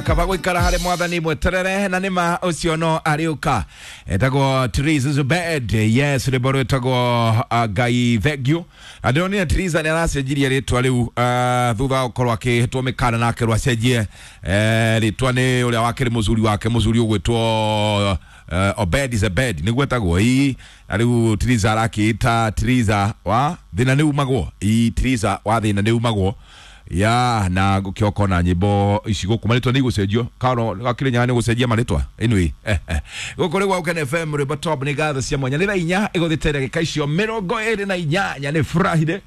Kaba gwikara harĩ mwathani mweterere na nĩma ũcio no arĩũka. Etagwo Theresa Zubed, yes, rwĩmbo rwĩtagwo Ngai thank you. Na ndĩronire Theresa nĩ aracenjirie rĩtwa rĩu thutha wa gũkorwo akĩhĩtwo mĩkana na akerwo acenjie rĩtwa nĩ ũrĩa wakĩrĩ mũcuri wake, mũcuri ũgwĩtwo Obed Zebed nĩguo etagwo. Ii na rĩu Theresa arakĩĩta Theresa wa thĩna nĩ umagwo. Ii Theresa wa thĩna nĩ umagwo ya na ngũkĩoka na nyĩmbo ici gũkũ marĩtwa nĩ igũcenjio karo gakĩrĩ nyaga nĩ gũcenjia marĩtwa. Anyway, gũkũ rĩu Gwaũkene FM, rwĩmbo top nĩ ngatho cia mwanya. Nĩ thaa 4 ĩgũthĩte ndagĩka icio 28. Nĩ Friday,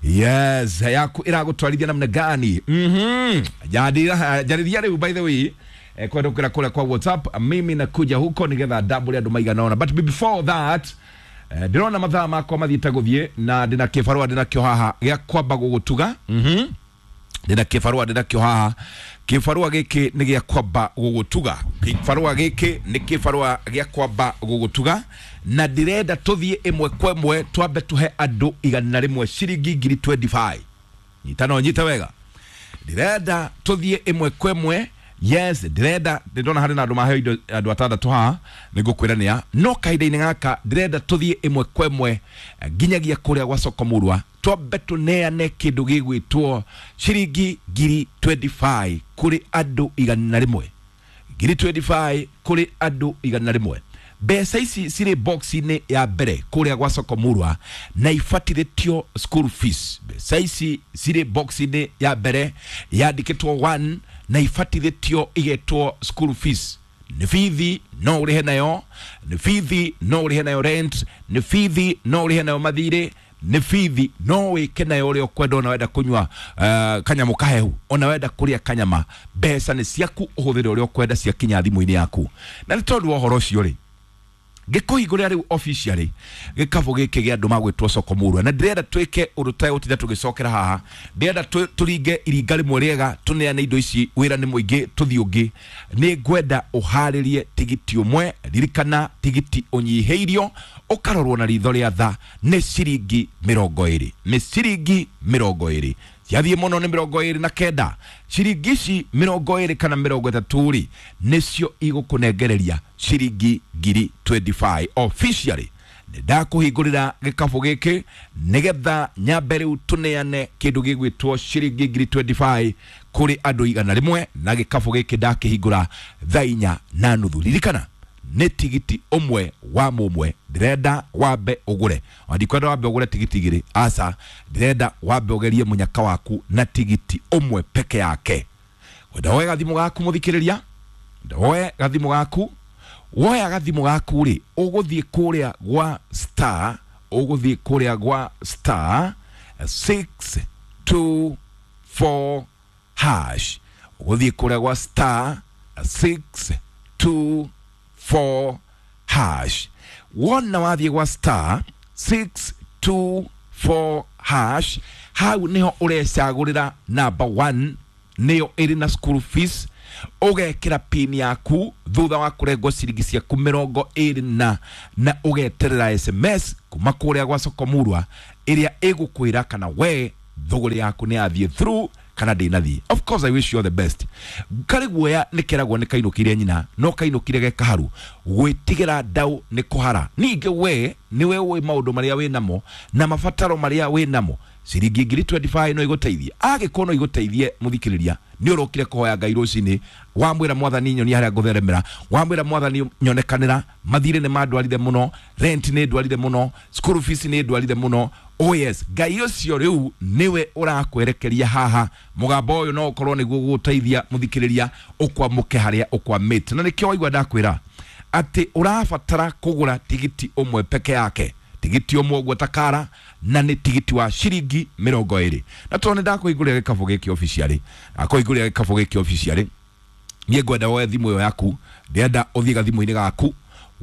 yes, yaku ĩragũtwarithia namna gani? Njarĩria rĩu, by the way, kwendũkĩra kũrĩa kwa WhatsApp, mimi nakuja huko nĩgetha ndambũre andũ maigana ũna. But before that, ndĩrona mathaa makwa mathiĩte gũthiĩ na ndĩna kĩbarũa ndĩnakĩo haha gĩa kwamba gũgũtuga. Ndĩna kĩbarũa ndĩnakĩo haha. Kĩbarũa gĩkĩ nĩ gĩa kwamba gũgũtuga. Kĩbarũa gĩkĩ nĩ kĩbarũa gĩa kwamba gũgũtuga na ndĩrenda tũthiĩ ĩmwe kwa ĩmwe, twambe tũhe andũ 100 ciringi ngiri 25. Nyita no nyite wega, ndĩrenda tũthiĩ ĩmwe kwa ĩmwe. Yes, ndĩrenda, ndĩrona harĩ na andũ maheo indo, andũ atandatũ haha nĩngũkwĩra nĩa, no kahinda-inĩ gaka ndĩrenda tũthiĩ ĩmwe kwa ĩmwe nginyagia kũrĩa gwa soko murwa, twambe tũneane kĩndũ gĩgwĩtwo ciringi ngiri 25 kũrĩ andũ 100. Ngiri 25 kũrĩ andũ 100. Mbeca ici cirĩ box-inĩ ya mbere kũrĩa gwa soko murwa na ibatithĩtio school fees. Mbeca ici cirĩ box-inĩ ya mbere yandĩkĩtwo 1 na ibatithĩtio igetwo school fees. Nĩ bithi no ũrĩhe nayo, nĩ bithi no ũrĩhe nayo rent, nĩ bithi no ũrĩhe nayo mathirĩ, nĩ bithi no wĩke nayo ũrĩa ũkwenda. Ona wenda kũnyua kanyamũ kahehu, ona wenda kũrĩa kanyama, mbeca nĩ ciaku, ũhũthĩre ũrĩa ũkwenda ciakinya thimũ-inĩ yaku. Na nĩ tondũ wa ũhoro ũcio rĩ, ngĩkũhingũrĩra rĩu officially gĩkabũ gĩkĩ gĩa andũ magwĩtwo soko murwa, na ndĩrenda twĩke ũndũ tũtegũtinda tũgĩcokera haha. Ndĩrenda tũringe iringa rĩmwe rĩega, tũneane indo ici. Wĩra nĩ mũingĩ, tũthiĩ ũngĩ. Nĩ ngwenda ũharĩrie tigiti ũmwe. Ririkana, tigiti ũnyihĩirio ũkarorwo na ritho rĩa tha nĩ ciringi 20, nĩ ciringi 20. Ciathiĩ mũno nĩ 29. Ciringi ici 20 kana 30 rĩ, nĩcio igũkũnengereria ciringi ngiri 25. Officially nĩ ndakũhingũrĩra gĩkabũ gĩkĩ nĩgetha nyambe rĩu tũneane kĩndũ gĩgwĩtwo ciringi ngiri 25 kũrĩ andũ 100, na gĩkabũ gĩkĩ ndakĩhingũra thaa 4:30. Ririkana nĩ tigiti ũmwe wa mũmwe ndĩrenda wambe ũgũre. Ona ndikwenda wambe ũgũre tigiti igĩrĩ, aca, ndĩrenda wambe ũgerie mũnyaka waku na tigiti ũmwe peke yake. Wenda woe gathimũ gaku, mũthikĩrĩria, woe gathimũ gaku. Woya gathimũ gaku rĩ, ũgũthiĩ kũrĩa gwa star, ũgũthiĩ kũrĩa gwa star 624 hash, ũgũthiĩ kũrĩa gwa star 624 hash. Wona wathiĩ gwa star 624 hash, hau niho ũrecagũrĩra number 1, nĩyo ĩrĩ na school fees. Ũgekĩra pin yaku thutha wa kũrengwo ciringi ciaku 20 na ũgeterera SMS kuma kũrĩa gwa soko murwa ĩrĩa ĩgũkwĩra kana we thũgũrĩ yaku nĩ yathiĩ through kana ndĩnathiĩ. Of course, I wish you all the best. Karĩ guoya nĩ keragwo nĩ kainũkire nyina no kainũkire ge kaharu. Gwĩtigĩra ndau nĩ kũhara. Ningĩ we nĩwe ũĩ maũndũ marĩa wĩ namo na mabataro marĩa wĩ namo. Ciringi ngiri 25 no igũteithie? Angĩkorwo no igũteithie, mũthikĩrĩria, nĩ ũrokire kũhoya Ngai rũcinĩ, wamwĩra, "Mwathani, nyonia harĩa ngũtheremera." Wamwĩra, "Mwathani, nyonekanĩra. Mathirĩ nĩ mandwarire mũno, rent nĩ ndwarire mũno, school fees nĩ ndwarire mũno." Oh yes, Ngai ũcio rĩu nĩwe ũrakwerekeria haha. Mũgambo ũyũ no ũkorwo nĩguo gũgũteithia, mũthikĩrĩria, ũkwamũke harĩa ũkwamĩte. Na nĩkĩo waigua ndakwĩra atĩ ũrabatara kũgũra tigiti ũmwe peke yake, tigiti ũmwe ũguo takara, na nĩ tigiti wa ciringi 20. Na tondũ nĩ ndakũhingũrĩra gĩkabũ gĩkĩ officially, ndakũhingũrĩra gĩkabũ gĩkĩ officially, niĩ ngwenda woe thimũ ĩyo yaku. Ndĩrenda ũthiĩ gathimũ-inĩ gaku.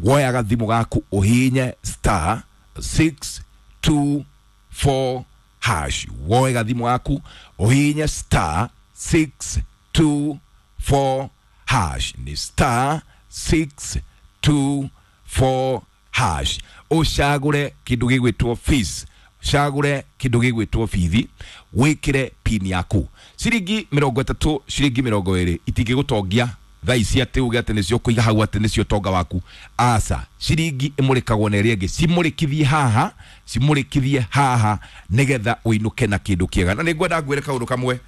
Woya gathimũ gaku, ũhihinye star 624 hash. Woe gathimũ gaku, ũhihinye star 624 hash, nĩ star 624 hash, ũcagũre kĩndũ gĩgwĩtwo fees. Cagũre kĩndũ gĩgwĩtwo bithi, wĩkĩre pin yaku. Ciringi 30, ciringi 20 itingĩgũtongia thaa ici atĩ uge atĩ nĩcio kũiga hau atĩ nĩcio ũtonga waku. Aca, ciringi ĩmũrĩkagwo na ĩrĩa ĩngĩ, cimũrĩkithie haha, cimũrĩkithie haha nĩgetha ũinũke na kĩndũ kĩega. Na nĩngwenda ngwĩre kaũndũ kamwe.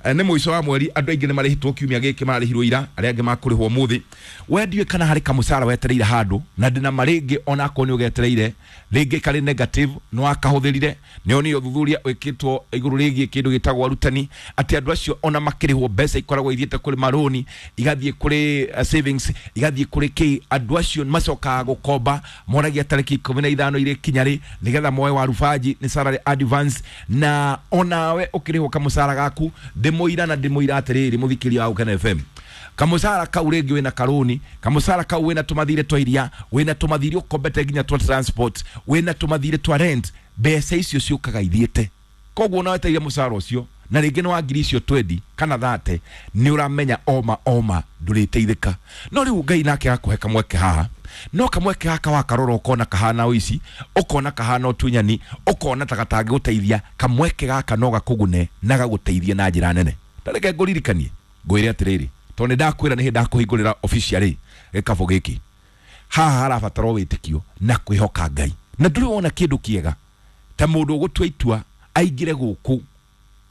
Nĩ mũico wa mweri, andũ aingĩ nĩ marĩhĩtwo kiumia gĩkĩ, mararĩhirwo ira, arĩa angĩ makũrĩhwo ũmũthĩ. We ndiũĩ kana harĩ kamũcara wetereire handũ, na ndĩna ma rĩngĩ onakorwo nĩ ũgetereire rĩngĩ karĩ negative, nĩ wakahũthĩrire. Nĩ onire ũthuthuria wĩkĩtwo igũrũ rĩgiĩ kĩndũ gĩtagwo arutani, atĩ andũ acio ona makĩrĩhwo mbeca ikoragwo ithiĩte kũrĩ marũni, igathiĩ kũrĩ savings, igathiĩ kũrĩ kĩ. Andũ acio macokaga gũkomba, moragia tarĩki 15 irĩkinya rĩ nĩgetha moe warubanji, nĩ salary advance. Na onawe ũkĩrĩhwo kamũcara gaku, ndĩmũira na ndĩmũira atĩrĩrĩ, mũthikĩria wa Gũkena FM, kamũcara kau rĩngĩ wĩna karũni, kamũcara kau wĩna tũmathirĩ twa iria, wĩna tũmathirĩ ũkombete nginya twa transport, wĩna tũmathirĩ twa rent, mbeca icio ciũkaga ithiĩte. Koguo ona wetereire mũcara ũcio na rĩngĩ nĩ wa ngiri icio 20 kana 30, nĩ ũramenya oma oma ndũrĩteithĩka. No rĩu Ngai nake agakũhe kamweke haha, no kamweke gaka wakarora ũkona kahana ũici, ũkona kahana ũtunyani, ũkona ta gatangĩgũteithia. Kamweke gaka no gakũgune na gagũteithie na njĩra nene. Ta reke ngũririkanie ngwĩre atĩrĩrĩ, tondũ nĩ ndakwĩra nĩ hĩndĩ ndakũhingũrĩra officially gĩkabũ gĩkĩ. Haha harabatarwo wĩtĩkio na kwĩhoka Ngai, na ndũrĩ wona kĩndũ kĩega ta mũndũ ũgũtua itua aingĩre gũkũ,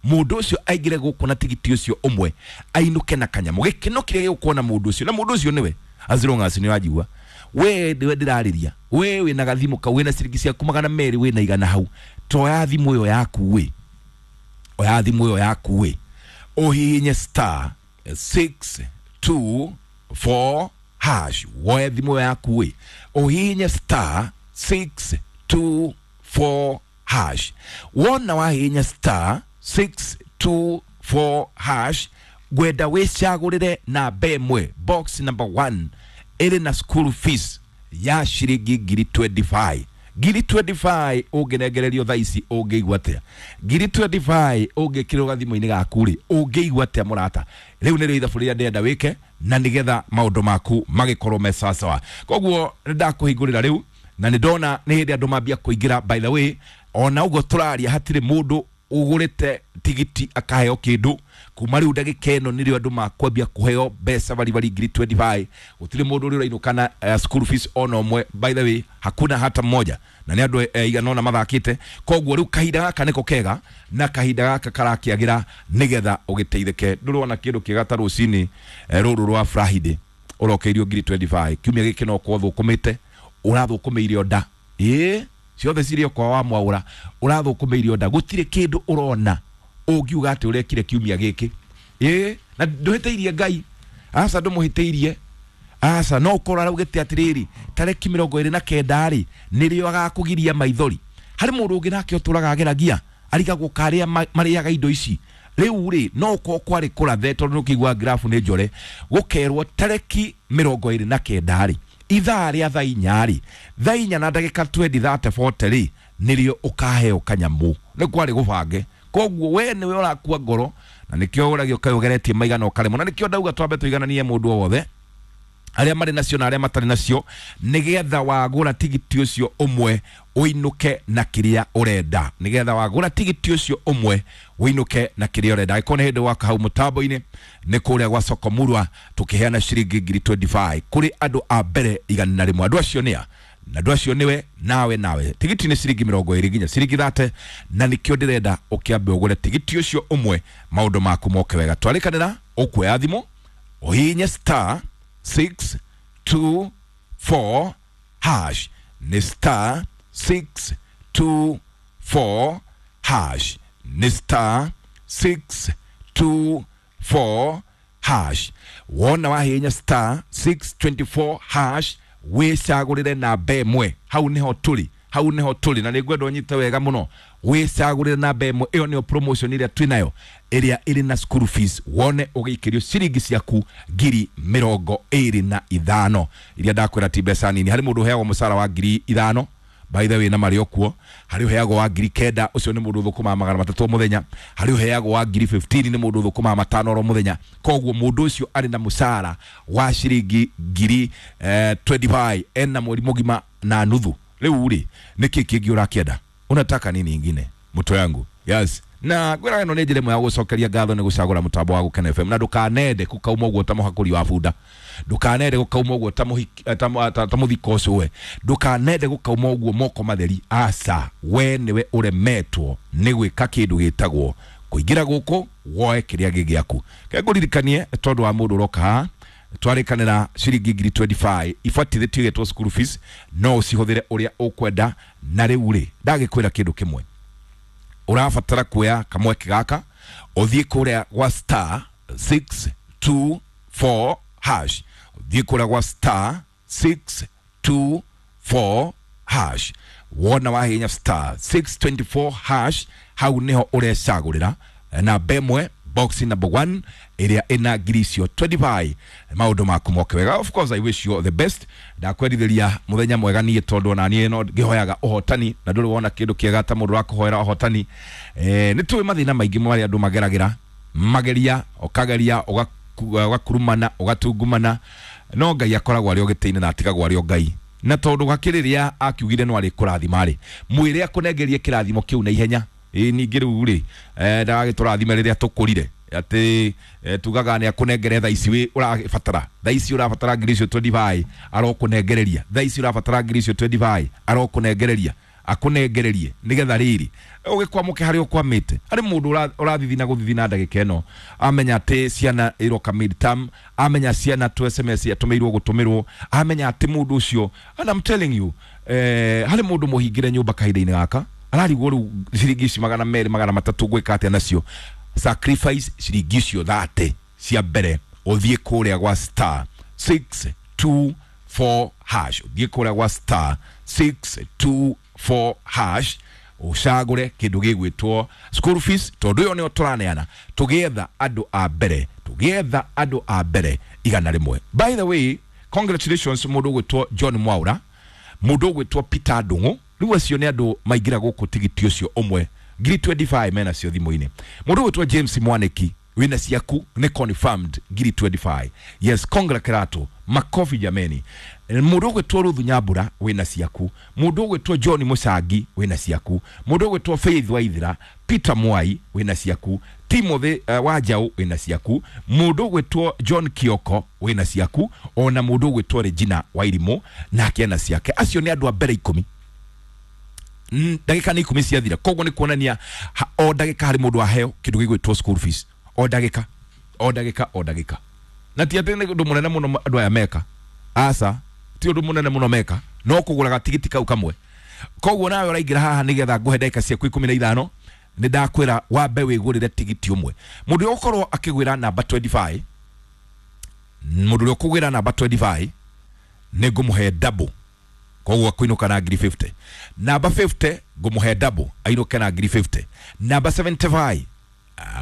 mũndũ ũcio aingĩre gũkũ na tigiti ũcio ũmwe ainũke na kanyamũ. Gĩkeno kĩrĩa gĩgũkorwo na mũndũ ũcio, na mũndũ ũcio nĩwe as long as nĩ wanjigua we nĩwe ndĩrarĩria, we wĩna gathimũ kau, wĩna ciringi ciaku 200, wĩna 100 hau, toya thimũ ĩyo yaku wĩ, oya thimũ ĩyo yaku wĩ, ũhihinye star 624 hash. Woe thimũ ĩyo yaku wĩ, ũhihinye star 624 hash. Wona wahihinya star 624 hash, ngwenda wĩcagũrĩre namba ĩmwe, box number 1, ĩrĩ na school fees ya ciringi ngiri 25. Ngiri 25 ũngĩnengererio thaa ici ũngĩigua atĩa? Ngiri 25 ũngĩkĩrwo gathimũ-inĩ gaku rĩ, ũngĩigua atĩa mũrata? Rĩu nĩrĩo ithabu rĩrĩa ndĩrenda wĩke na nĩgetha maũndũ maku magĩkorwo me sawasawa. Koguo nĩ ndakũhingũrĩra rĩu, na nĩ ndona nĩ hĩndĩ andũ mambia kũingĩra. By the way, ona ũguo tũraria hatirĩ mũndũ ũgũrĩte tigiti akaheo kĩndũ. Kuma rĩu ndagĩka ĩno nĩrĩo andũ makwambia kũheo mbeca baribari ngiri 25. Gũtirĩ mũndũ ũrĩa ũrainũka na school fees ona ũmwe, by the way, hakuna hata mmoja, na nĩ andũ igana ũna mathakĩte. Koguo rĩu kahinda gaka nĩko kega na kahinda gaka karakĩagĩra nĩgetha ũgĩteithĩke. Ndũrona kĩndũ kĩega ta rũcinĩ rũrũ rwa Friday ũrokeirio ngiri 25. Kiumia gĩkĩ no ũkorwo thũkũmĩte, ũrathũkũmĩire nda, ĩĩ ciothe cirĩ kwa wa mwaũra, ũrathũkũmĩire nda, gũtirĩ kĩndũ ũrona ũngiuga atĩ ũrekire kiumia gĩkĩ, ĩĩ na ndũhĩtĩirie Ngai, aca ndũmũhĩtĩirie, aca. No ũkorwo araugĩte atĩrĩrĩ, tarĩki 29 rĩ nĩrĩo agakũgiria maithori. Harĩ mũndũ ũngĩ nake ũtũraga ageragia arigagwo karĩa marĩaga indo ici. Rĩu rĩ no ũkorwo kwarĩ kũrathe, tondũ nĩ ũkĩigua grafu nĩ njore, gũkerwo tarĩki 29 rĩ, ithaa rĩa thaa inya rĩ, thaa inya na ndagĩka 20 30 40 rĩ, nĩrĩo ũkaheo kanyamũ. Nĩ kwarĩ gũbange. Koguo we nĩwe ũrakua ngoro, na nĩkĩo ũragio kaĩ ũgeretie maigana ũkaremwo. Na nĩkĩo ndauga twambe tũigananie mũndũ o wothe, arĩa marĩ nacio na arĩa matarĩ nacio, nĩgetha wagũra tigiti ũcio ũmwe ũinũke na kĩrĩa ũrenda, nĩgetha wagũra tigiti ũcio ũmwe ũinũke na kĩrĩa ũrenda. Angĩkorwo nĩ hĩndĩ waka hau mũtambo-inĩ, nĩ kũrĩa gwa Soko Murwa tũkĩheana ciringi ngiri 25 kũrĩ andũ a mbere 101. Andũ acio nĩa? Na andũ acio nĩwe nawe nawe. Tigiti nĩ ciringi 20 nginya ciringi 30, na nĩkĩo ndĩrenda ũkĩambe ũgũre tigiti ũcio ũmwe maũndũ maku moke wega. Twarĩkanĩra, ũkuoya thimũ ũhihinye star 624 hash, nĩ star 624 hash, nĩ star 624 hash. Wona wahihinya star 624 hash, wĩcagũrĩre namba ĩmwe. Hau nĩho tũrĩ, hau nĩho tũrĩ, na nĩngwenda ũnyite wega mũno. Wĩcagũrĩre namba ĩmwe, ĩyo nĩyo promotion ĩrĩa twĩnayo, ĩrĩa ĩrĩ na school fees. Wone ũgĩikĩrio ciringi ciaku ngiri 25 iria ndakwĩra ti mbeca nini. Harĩ mũndũ ũheagwo mũcara wa ngiri 5, by the way, na marĩ o kuo. Harĩ ũheagwo wa ngiri 9, ũcio nĩ mũndũ ũthũkũmaga 300 o mũthenya. Harĩ ũheagwo wa ngiri 15, nĩ mũndũ ũthũkũmaga 5 oro mũthenya. Koguo mũndũ ũcio arĩ na mũcara wa ciringi ngiri 25 ena mweri mũgima na nuthu. Rĩu rĩ, nĩkĩ kĩngĩ ũrakĩenda? Unataka nini ingine mtu yangu? Yes, na ngwĩraga ĩno nĩ njĩra ĩmwe ya gũcokeria ngatho nĩ gũcagũra mũtambo wa Gũkena FM. Na ndũkanende gũkauma ũguo ta mũhakũri wa bunda, ndũkanende gũkauma ũguo ta mũthiko ũcio we, ndũkanende gũkauma ũguo moko matheri. Aca, we nĩwe ũremetwo nĩ gwĩka kĩndũ gĩtagwo kũingĩra gũkũ woe kĩrĩa gĩ gĩaku. Kengũririkanie tondũ wa mũndũ ũroka haha, twarĩkanĩra ciringi ngiri 25 ibatithĩtio igetwo school fees, no ũcihũthĩre ũrĩa ũkwenda. Na rĩu rĩ, ndagĩkwĩra kĩndũ kĩmwe, ũrabatara kuoya kamweke gaka ũthiĩ kũrĩa gwa star 624 hash, ũthiĩ kũrĩa gwa star 624 hash. Wona wahinya star 624 hash, hau niho ũrecagũrĩra namba ĩmwe, box number 1 ĩrĩa ĩna ngiri icio 25. Maũndũ maku moke wega. Of course I wish you all the best. Ndakwendithĩria mũthenya mwega niĩ, tondũ ona niĩ no ngĩhoyaga ũhotani, na ndũrĩ wona kĩndũ kĩega ta mũndũ wakũhoera ũhotani. Nĩ tũĩ mathĩna maingĩ marĩa andũ mageragĩra, mageria ũkageria ũgakurumana ũgatungumana, no Ngai akoragwo arĩ o gĩtĩ-inĩ na atigagwo arĩ o Ngai. Na tondũ gakĩrĩrĩa akiugire no arĩ kũrathima rĩ, mwĩre akũnengerie kĩrathimo kĩu na ihenya. Ĩ ningĩ rĩu rĩ, ndagagĩtũrathime rĩrĩa tũkũrire atĩ tugaga nĩ akũnengere thaa ici wĩ ũrabatara, thaa ici ũrabatara ngiri icio 25 arokũnengereria, thaa ici ũrabatara ngiri icio 25 arokũnengereria, akũnengererie nĩgetha rĩrĩ ũgĩkwamũke harĩa ũkwamĩte. Harĩ mũndũ ũrathithina gũthithina ndagĩka ĩno, amenya atĩ ciana iroka midterm, amenya ciana tu SMS atũmĩirwo gũtũmĩrwo, amenya atĩ mũndũ ũcio, and I'm telling you, harĩ mũndũ mũhingĩre nyũmba kahinda-inĩ gaka ararigwo rĩu ciringi ici 200 300 gwĩka atĩa nacio. Sacrifice ciringi icio 30 cia mbere, ũthiĩ kũrĩa gwa star 624 hash, ũthiĩ kũrĩa gwa star 624 hash ũcagũre kĩndũ gĩgwĩtwo school fees, tondũ ĩyo nĩyo tũraneana tũgĩetha andũ a mbere, tũgĩetha andũ a mbere 100. By the way, congratulations mũndũ ũgwĩtwo John Mwaura, mũndũ ũgwĩtwo Peter Ndung'u. Rĩu acio nĩ andũ maingĩra gũkũ tigiti ũcio ũmwe ngiri 25 mena cio thimũ-inĩ. Mũndũ ũgwĩtwo James Mwaniki wĩna ciaku nĩ confirmed ngiri 25. Yes, congra kerato, makofi jameni. Mũndũ ũgwĩtwo Ruthu Nyambura wĩna ciaku, mũndũ ũgwĩtwo John Mũcangi wĩna ciaku, mũndũ ũgwĩtwo Faith Waithira, Peter Mwai wĩna ciaku, Timothy Wanjau wĩna ciaku, mũndũ ũgwĩtwo John Kioko wĩna ciaku, ona mũndũ ũgwĩtwo Regina Wairimũ nake ena ciake. Acio nĩ andũ a mbere 10. Ndagĩka nĩ 10 ciathira, koguo nĩ kuonania o ndagĩka harĩ mũndũ aheo kĩndũ gĩgwĩtwo school fees, o ndagĩka, o ndagĩka, o ndagĩka. Na ti atĩ nĩ ũndũ mũnene mũno andũ aya meka, aca, ti ũndũ mũnene mũno meka, no kũgũra gatigiti kau kamwe. Koguo nawe ũraingĩra haha nĩgetha ngũhe ndagĩka ciaku 15, nĩ ndakwĩra wambe wĩgũrĩre tigiti ũmwe. Mũndũ ũrĩa ũgũkorwo akĩgwĩra namba 25, mũndũ ũrĩa ũkũgwĩra namba 25 nĩ ngũmũhe double, koguo akũinũka na ngiri 50. Namba 50 ngũmũhe double ainũke na ngiri 50. Namba 75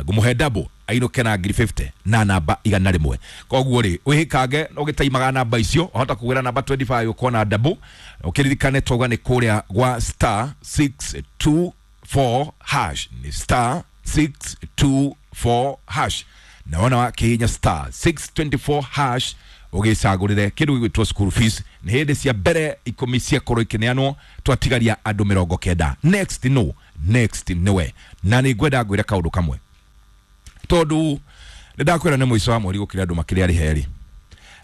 ngũmũhe double ainũke na ngiri 50, na namba 100. Koguo rĩ, wĩhĩkange ũgĩtaimaga namba icio, wahota kũgwĩra namba 25 ũkona double. Ũkĩririkane twauga nĩ kũrĩa gwa star 624 hash, nĩ star 624 hash. Na wona wakĩhihinya star 624 hash ũgĩcagũrĩre kĩndũ gĩgwĩtwo school fees. Nĩ hĩndĩ cia mbere 10 ciakorwo ikĩneanwo, twatigaria andũ 90. Next no, next nĩwe. Na nĩ ngwenda ngwĩre kaũndũ kamwe, tondũ nĩ ndakwĩra nĩ mũico wa mweri gũkĩra andũ makĩrĩa arĩ heri,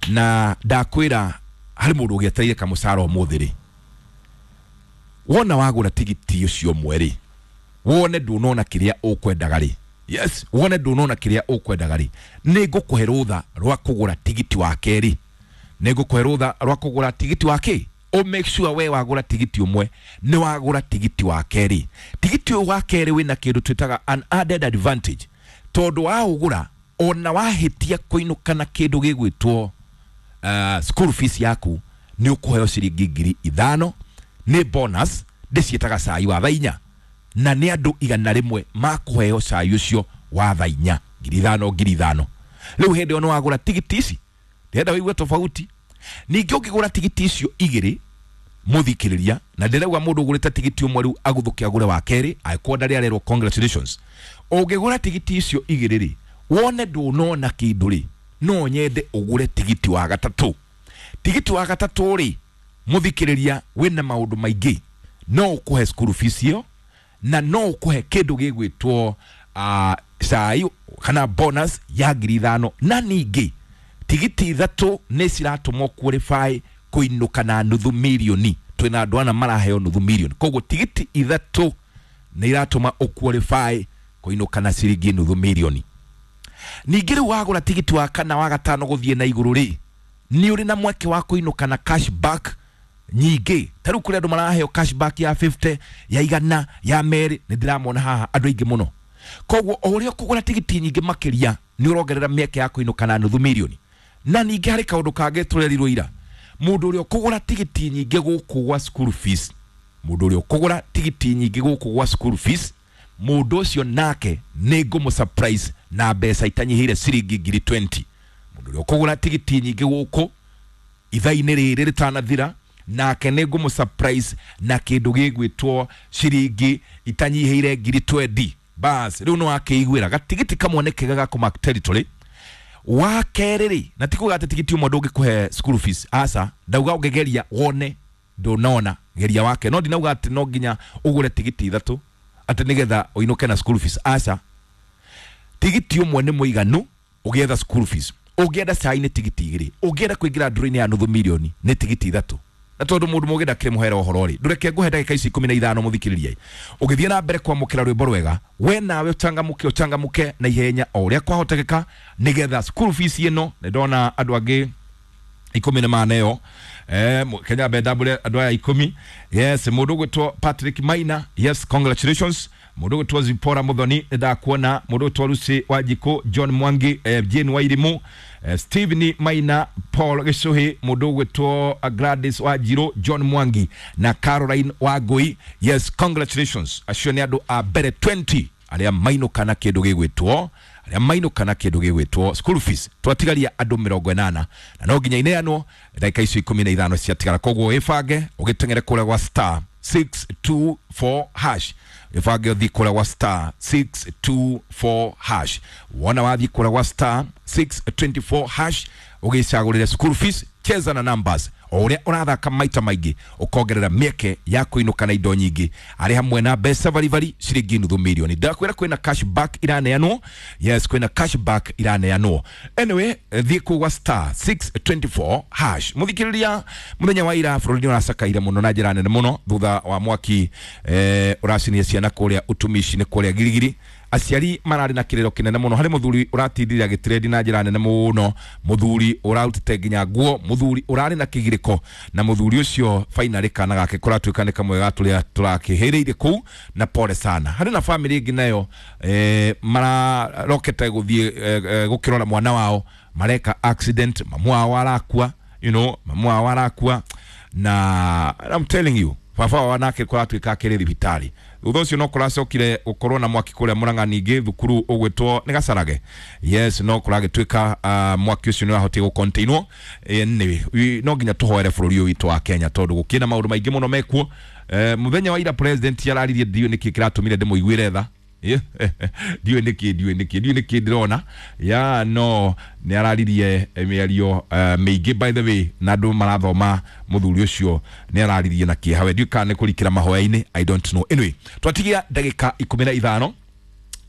na ndakwĩra harĩ mũndũ ũgĩetereire kamũcara ũmũthĩ rĩ, wona wagũra tigiti ũcio ũmwe rĩ, wone ndũnona kĩrĩa ũkwendaga rĩ, yes, wone ndũnona kĩrĩa ũkwendaga rĩ, nĩ ngũkũhe rũtha rwa kũgũra tigiti wa kerĩ, nĩ ngũkũhe rũtha rwa kũgũra tigiti wa kĩ, o make sure we wagũra tigiti ũmwe nĩ wagũra tigiti wa kerĩ. Tigiti ũyũ wa kerĩ wĩna kĩndũ twĩtaga an added advantage, tondũ waũgũra ona wahĩtia kũinũka na kĩndũ gĩgwĩtwo school fees yaku, nĩ ũkũheo ciringi ngiri 5 nĩ bonus, ndĩciĩtaga cai wa thaa 4, na nĩ andũ 100 makũheo cai ũcio wa thaa 4, ngiri 5 ngiri 5. Rĩu hĩndĩ ĩyo nĩ wagũra tigiti ici, ndĩrenda wĩigue tofauti. Ningĩ ũngĩgũra tigiti icio 2 mũthikĩrĩria, na ndĩrauga mũndũ ũgũrĩte tigiti ũmwe rĩu agũthũke agũre wa kerĩ, angĩkorwo ndarĩ arerwo congratulations. Ũngĩgũra tigiti icio 2 rĩ, wone ndũnona kĩndũ rĩ, no nyende ũgũre tigiti wa gatatũ. Tigiti wa gatatũ rĩ, mũthikĩrĩria, wĩna maũndũ maingĩ, no ũkũhe school fees ĩyo. Na no ũkũhe kĩndũ gĩgwĩtwo cai kana bonus ya 5,000. Na ningĩ tigiti 3 nĩ ciratũmwo qualify kũinũka na nuthu mirioni. Twĩna andũ ana maraheo nuthu mirioni, koguo tigiti 3 nĩ iratũma ũqualify kũinũka na ciringi nuthu mirioni. Ningĩ rĩu wagũra tigiti wa kana wa gatano gũthiĩ na igũrũ rĩ, nĩ ũrĩ na mweke wa kũinũka na cashback nyingĩ. Ta rĩu kũrĩ andũ maraheo cashback ya 50, ya 100, ya 200, nĩ ndĩramona haha andũ aingĩ mũno. Koguo o ũrĩa ũkũgũra tigiti nyingĩ makĩria nĩ ũrongerera mĩeke ya kũinũka na nuthu mirioni. Na ningĩ harĩ kaũndũ kangĩ tũrerirwo ira, mũndũ ũrĩa ũkũgũra tigiti nyingĩ gũkũ gwa school fees, mũndũ ũrĩa ũkũgũra tigiti nyingĩ gũkũ gwa school fees, mũndũ ũcio nake nĩ ngũmũ surprise na mbeca itanyihĩire ciringi 20,000. Mũndũ ũrĩa ũkũgũra tigiti nyingĩ gũkũ ithaa-inĩ rĩrĩ rĩtanathira, nake nĩ ngũmũ surprise na kĩndũ gĩgwĩtwo ciringi itanyihĩire 20,000. Bas rĩu nĩ wakĩiguĩra gatigiti kamwe nĩ kega ga kũmark territory. Wa kerĩ rĩ, na ti kuga atĩ tigiti ũmwe ndũngĩkũhe school fees, aca, ndauga ũngĩgeria wone ndũnona, geria wake. No ndinauga atĩ no nginya ũgũre tigiti 3 atĩ nĩgetha ũinũke na school fees, aca. Tigiti ũmwe nĩ mũiganu ũgĩetha school fees. Ũngĩenda cai nĩ tigiti 2, ũngĩenda kũingĩra ndũrũ-inĩ ya nuthu mirioni nĩ tigiti 3. Na tondũ mũndũ mũgĩ ndakĩrĩ mũhere ũhoro rĩ, ndũreke ngũhe ndagĩka ici 15 mũthikĩrĩria. Ũgĩthiĩ na mbere kwamũkĩra rwĩmbo rwega, we nawe ũchangamũke, ũchangamũke na ihenya o ũrĩa kwahotekeka nĩgetha school fees ĩno. Nĩ ndona andũ angĩ 10 nĩ maneo. Kenya mbenda andũ aya 10. Yes, mũndũ ũgwĩtwo Patrick Maina, yes, congratulations. Mũndũ ũgwĩtwo Zipora Muthoni, nĩ ndakuona. Mũndũ ũgwĩtwo Lucy Wanjikũ, John Mwangi, Jane Wairimu, Stephen Maina, Paul Gĩcũhĩ, mũndũ ũgwĩtwo Gladys Wanjirũ, John Mwangi na Caroline Wangui. Yes, congratulations. Acio nĩ andũ a mbere 20 arĩa mainũka na kĩndũ gĩgwĩtwo, arĩa mainũka na kĩndũ gĩgwĩtwo school fees. Twatigaria andũ 80 na no nginya ineanwo ndagĩka icio 15 ciatigara. Koguo ĩbange ũgĩteng'ere kũrĩa gwa star 624 hash, ĩbange ũthiĩ kũrĩa gwa star 624 hash. Wona wathiĩ kũrĩa gwa star 624 hash ũgĩcagũrĩre school fees, cheza na numbers. O ũrĩa ũrathaka maita maingĩ ũkongerera mĩeke ya kũinũka na indo nyingĩ, arĩ hamwe na mbeca baribari ciringi nuthu mirioni. Ndakwĩra kwĩna cashback iraneanwo. Yes, kwĩna cashback iraneanwo. Anyway, thiĩ kũu gwa star 624 hash. Mũthikĩrĩria, mũthenya wa ira bũrũri nĩ ũracakaire mũno na njĩra nene mũno thutha wa mwaki ũracinia ciana kũrĩa ũtumishi-inĩ kũrĩa Girigiri. Aciari mararĩ na kĩrĩro kĩnene mũno. Harĩ mũthuri ũratindire agĩtrendi na njĩra nene mũno, mũthuri ũrarutĩte nginya nguo, mũthuri ũrarĩ na kĩgirĩko, na mũthuri ũcio finally kana gake kũratuĩka nĩ kamwe ga tũrĩa tũrakĩhĩrĩire kũu, na pole sana. Harĩ na family ĩngĩ nayo mararokete gũthiĩ gũkĩrora mwana wao, mareka accident, mamu wao arakua, you know, mamu wao arakua, na I'm telling you baba wao nake kũratuĩka akĩrĩ thibitarĩ. Thutha ũcio no kũracokire gũkorwo na mwaki kũrĩa Murang'a, ningĩ thukuru ũgwĩtwo nĩ Gacarage. Yes, no kũragĩtuĩka mwaki ũcio nĩ wahotire gũcontainwo. Anyway, no nginya tũhoere bũrũri ũyũ witũ wa Kenya tondũ gũkĩrĩ na maũndũ maingĩ mũno mekuo. Mũthenya wa ira president araririe, ndiũĩ nĩkĩ kĩratũmire ndĩmũiguĩre tha. Ndiũĩ nĩkĩ, ndiũĩ nĩkĩ, ndiũĩ nĩkĩ ndĩrona ya no nĩ araririe mĩario mĩingĩ by the way, na andũ marathoma mũthuri ũcio nĩ araririe na kĩeha. We ndiũĩ kana nĩ kũrikĩra mahoya-inĩ, I don't know. Anyway, twatigia ndagĩka 15.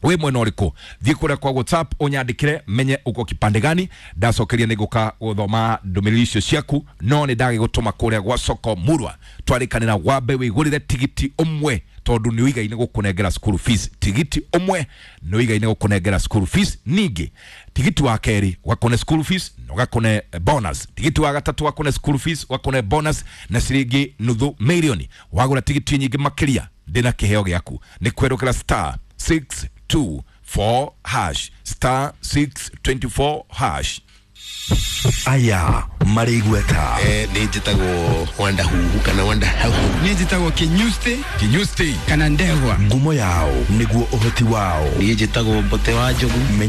Wĩ mwena ũrĩkũ? Thiĩ kũrĩa kwa WhatsApp ũnyandĩkĩre menye uko kipande gani. Ndacokeria nĩ ngũka gũthoma ndũmĩrĩri icio ciaku, no nĩ ndagĩgũtũma kũrĩa gwa soko murwa twarĩkanĩra wambe wĩgũrĩre tigiti ũmwe tondũ nĩ ũigaine gũkũnengera school fees. Tigiti ũmwe nĩ ũigaine gũkũnengera school fees. Ningĩ tigiti wa kerĩ ũgakũne school fees na ũgakũne bonus. Tigiti wa gatatũ ũgakũne school fees, ũgakũne bonus na ciringi nuthu mirioni. Wagũra tigiti nyingĩ makĩria ndĩna kĩheo gĩaku. Nĩ kwerũkĩra star 624 hash, star 624 hash. Aya marĩ igweta. Nĩ njĩtagwo Wanda Huhu kana Wanda Hau. Niĩ njĩtagwo Kinyusti Kinyusti kana Ndegwa. Ngumo yao nĩguo ũhoti wao. Niĩ njĩtagwo Mbote wa Njogu.